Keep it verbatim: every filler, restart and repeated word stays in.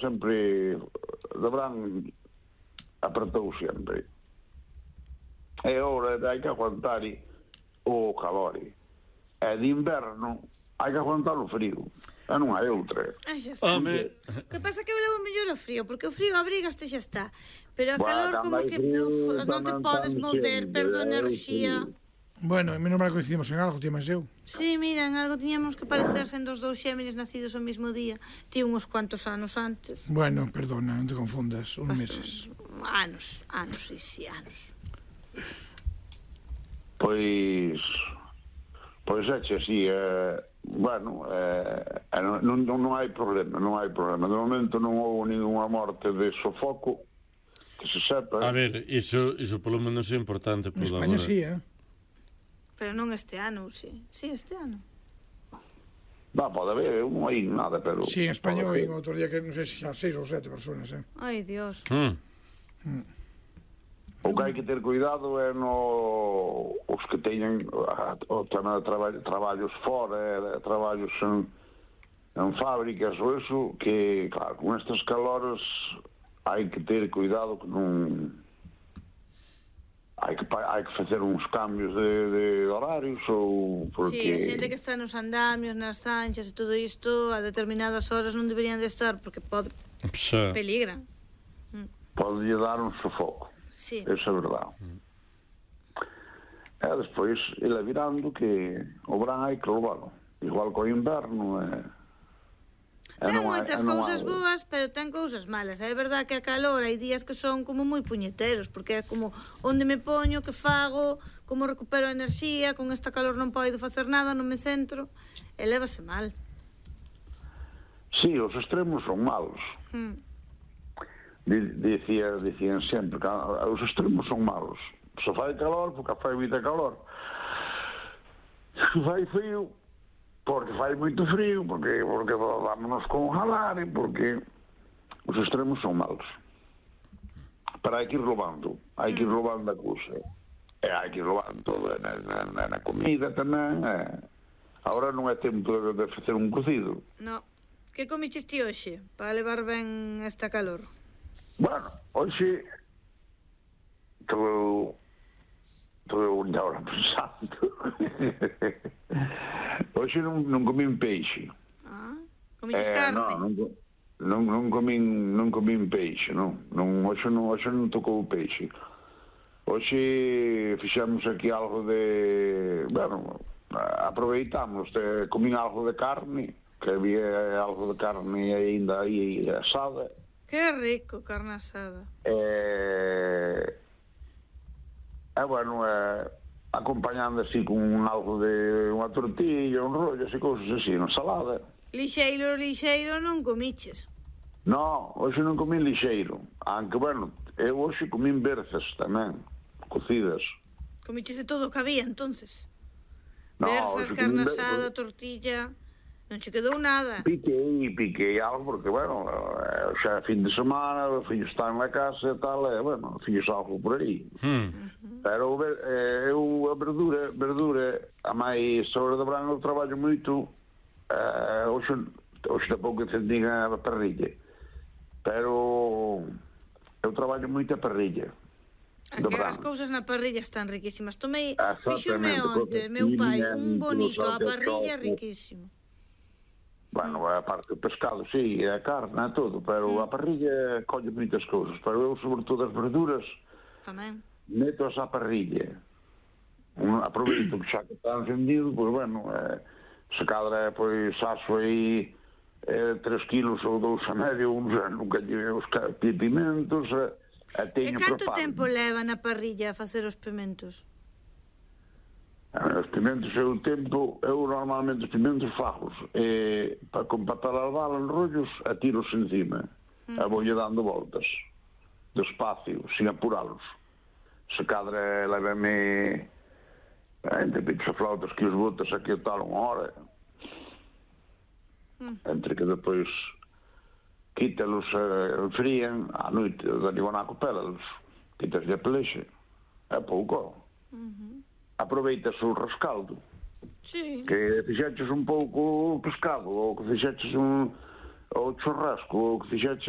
sempre, de verán, apertou sempre. E ora hai que aguantar o calor. E de inverno hai que aguantar o frío. E non hai outra. Ah, xa está. Home. O que pasa é que eu levo mellor o frío, porque o frío abrigaste xa está. Pero o Buah, calor cando como hai que frío, uf, non te tamén podes estamos mover, sempre, perdo é o enerxía. frío. Bueno, menos mal coincidimos en algo, tío, máis eu. Sí, mira, en algo tiñamos que parecer sendo os dous xéminis nacidos o mesmo día. Ti uns cuantos anos antes. Bueno, perdona, non te confundas, uns Bastante. meses. Anos, anos, sí, sí, anos. Pois... Pois é, che, sí, eh, bueno, eh, non, non, non hai problema, non hai problema. De momento non houve ninguna morte de sofoco, que se sepa. A ver, iso, iso polo menos é importante. En España sí, eh? Pero non este ano, sí. Sí, este ano. Va, pode haber, non hai nada, pero... Sí, en España oí outro día que non sei se xa seis ou sete personas, eh? Ai, Dios. Mm. Mm. O que hai que ter cuidado é no... os que teñen o tema de traba, traballos fora, traballos en, en fábricas ou eso, que, claro, con estes calores hai que ter cuidado que non... hai que, hai que facer uns cambios de, de horarios ou porque... Sí, a xente que está nos andamios, nas zanchas e todo isto a determinadas horas non deberían de estar porque pode Xa. peligran. pode lle dar un sofoco. Sí. Eso é verdade. Mm. E despois, ele virando que o verán hai que levalo. Igual co inverno, é... Ten moitas cousas boas, pero ten cousas malas. É verdade que a calor hai días que son como moi puñeteros, porque é como onde me poño, que fago, como recupero a enerxía, con esta calor non podo facer nada, non me centro, e lévase mal. Sí, os extremos son malos. Hmm. Dicía, dicían sempre que os extremos son malos. Se fai calor, porque fai moita calor. Se fai frío, porque fai moito frío, porque, porque vámonos con jalar, porque os extremos son malos. Pero hai que ir roubando, hai que ir roubando a cousa. E hai que ir roubando na, na, na comida tamén. E... Agora non é tempo de, de facer un cocido. No. Que comiches ti hoxe, para levar ben esta calor? Bueno, hoxe estou estou agora pensando. Hoxe non, non comín peixe. Ah, comiches eh, carne? No, non, non, non comín non comín peixe, non. Non hoxe non hoxe non tocou o peixe. Hoxe fixemos aquí algo de, bueno, aproveitamos, de, comín algo de carne, que había algo de carne aínda aí asada. Que rico, carne asada. E, e bueno, e, acompañando así con algo de unha tortilla, un rollo, así, cousas así, unha ensalada. Lixeiro, lixeiro non comiches. No, hoxe non comín lixeiro, aunque, bueno, eu hoxe comín berzas tamén, cocidas. Comiches de todo o que había, entonces. No, Berzas, hoxe carne comín asada, tortilla... Non che quedou nada. Piquei, piquei algo, porque, bueno, xa é fin de semana, os fillos están na casa e tal, e, bueno, fillos algo por aí. Hmm. Pero eh, eu, a verdura, verdura, a máis sobre de verán eu traballo moito, eh, hoxe, hoxe tampouco encendín a parrilla, pero eu traballo moito a parrilla. A que as cousas na parrilla están riquísimas. Tomei, fixome onte, Exactamente, meu pai, cocina, un bonito a salsa, parrilla choco. riquísimo. Bueno, a parte do pescado, sí, a carne, a todo, pero a parrilla colle moitas cousas, pero eu, sobre todo, as verduras, Tamén. meto-as á parrilla. Un, aproveito que xa que está encendido, pois, bueno, eh, se cadra, pois, aso aí eh, tres kilos ou dous a medio, uns, nunca lle os pimentos, eh, e teño E canto preparo. tempo leva na parrilla a facer os pimentos? Os pimentos é o tempo, eu normalmente os pimentos fagos, e para compatar a bala en rollos, atiros encima, mm. e voulle dando voltas, despacio, sin apuralos. Se cadra levame entre pitos flautas que os botas aquí tal unha hora, mm. entre que depois quítalos, eh, enfrían, á noite, da libonaco pélalos, quitas de pelexe, é pouco. Uh-huh. Aproveitas o rescaldo, sí. Que fixeches un pouco pescado, ou que fixeches un o churrasco, ou que fixeches